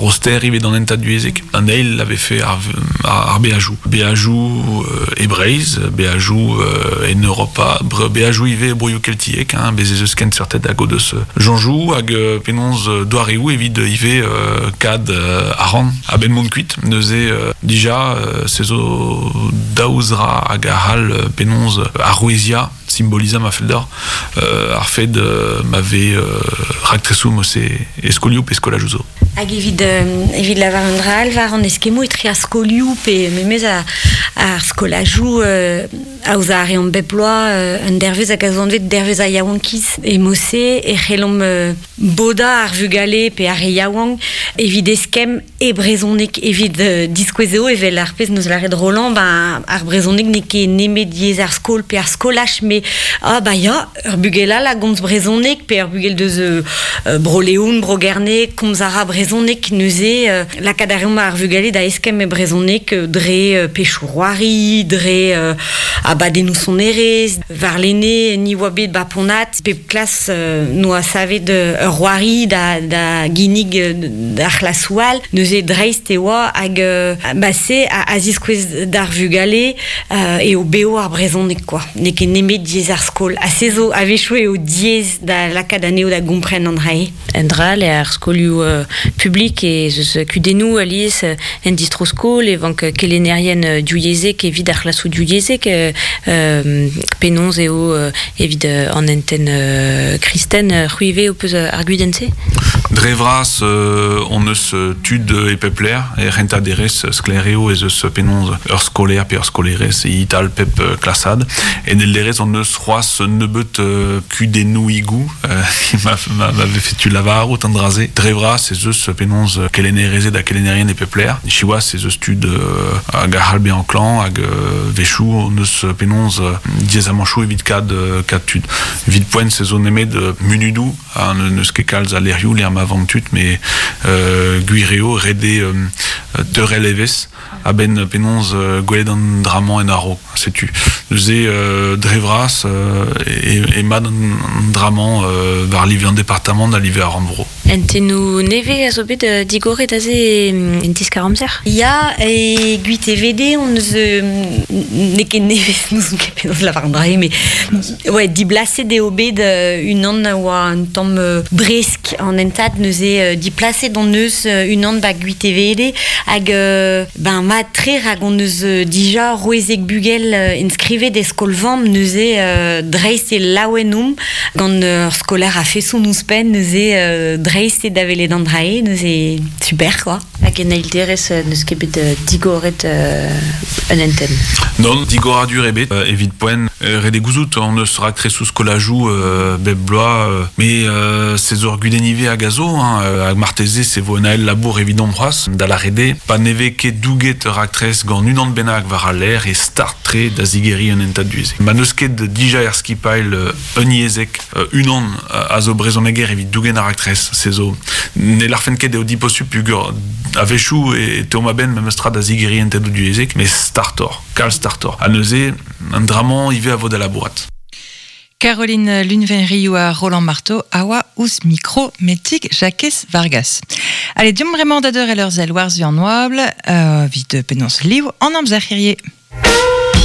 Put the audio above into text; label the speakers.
Speaker 1: roster ivez d'an hentad divyezhek. An eil a vefe ar, ar beajoù. Beajoù e Breizh, beajoù en Europa, beajoù ivez e broioù keltiek, hein, bez ez eus kenseurted hag o deus soñjoù hag penaos doareoù evit ivez kad arc'hant a-benn mont kuit. Neuze dija se zo daou zra hag a c'hall penaos aroueziañ, simbolizañ ma fell deoc'h, ar fed ma vez raktresoù mod-se e skolioù pe skolajoù zo.
Speaker 2: Hag evit, evit lavar un dra all war an eskemmoù etre ar skolioù pe memes ar skolajoù aozañ a reomp bep bloaz un dervezh hag a zo anvet dervezh ar yaouankiz. E mod-se e c'hellomp bodañ ar vugale pe ar re yaouank evit eskemm e brezhoneg evit diskouez eo evel ar pezh 'neus lâret Roland, ben ar brezhoneg n'eo ket nemet yezh ar skol pe ar skolaj met ah bah ya, ur bugel all a gomz brezhoneg pe ur bugel deus Bro-Leon, Bro-Gerne, komz a ra brezhoneg neuze lakaat a reomp ar vugale da eskemm e brezhoneg dre pechoù-c'hoari, dre abadennoù sonerezh. Warlene ni oa bet ba Ponat, pep klas noa savet ur c'hoari da, da ginnig d'ar c'hlasoù all. Neuze dreist e oa hag ba se a, a ziskouez d'ar vugale eo bev ar brezhoneg quoi. N'eo ket nemet diaes ar skol. Ha se zo a-wechoù eo diaes da lakaat anezho da gompren an dra-se.
Speaker 3: Un dra all eo ar skolioù publik ez eus kudennoù alies en distro-skol e vank kelennerien divyezhek evit ar c'hlasoù divyezhek. Penaos eo evit an hentenn kristen c'hwi ivez ho peus ar gudenn-se?
Speaker 1: Dre vras hon eus tud e pep lec'h er c'hentañ derez sklaer eo ez eus penaos ur skolaer pe ur skolaerez e-tal pep klasad. En eil derez hon eus c'hoazh un nebeud kudennoùigoù ma vefe tu lavarout an dra-se. Dre vras ez eus penaos kelennerezed ha kelennerien e pep lec'h. Siwazh ez eus tud hag a c'hall bezañ klañv hag wechoù hon eus penaos diaezamanchoù evit kad kad tud. Evit poent se zo nemet munudoù ha n'eus ket kalz a lec'hioù lec'h ma vank tud met gwir eo ret eo teurel evezh a-benn penaos gwelet an dra-mañ en a-raok. Setu. Neuze, dre vras, emañ an dra-mañ war live an departamant ha live ar rannvro.
Speaker 3: Hentennoù nevez a zo bet digoret aze en diskar-amzer?
Speaker 2: Ya, e Gwitevede on eus n'eo ket nevez, n'ouzon ket penaos lavar an dra-se, mais ouais, diblaset eo bet unan a oa un tamm bresk an hentad, neuze diplaset on eus unan ba Gwitevede hag ben mat-tre rak on eus dija rouezek bugel inskrivet e skol-vamm neuze dreist e laouen omp gant ur skolaer a-feson ouzhpenn neuze dreist eo da welet an dra-se neuze super quoi.
Speaker 3: Hag en eil derez n'eus ket bet digoret un hentenn?
Speaker 1: Non, digoradur ebet evit poent. Ret eo gouzout hon eus raktresoù skolajoù bep bloaz, met se zo ur gudenn ivez hag a zo, hein, hag marteze se vo un ael labour evidomp c'hoazh, da lâret eo, pa ne vez ket douget ur raktres gant unan bennak war al lec'h e start-tre da zigeriñ un hentad du-se. Ma n'eus ket dija er skipailh unyezhek unan a zo brezhoneger evit dougen ar raktres, se zo ne lârfen ket eo diposupl peogwir a-wechoù e teuomp a-benn memes tra da zigeriñ hentadoù divyezhek, met startoc'h, kalz startoc'h. Ha neuze, an dra-mañ ivez a vo da labourat.
Speaker 4: Caroline Lunvenriou ha Roland Marteau a oa ouzh mikro Metig Jakez Vargas. Allez, deomp bremañ da deurel ur sell war-zu an oabl, evit penaos liv an amzer hirie.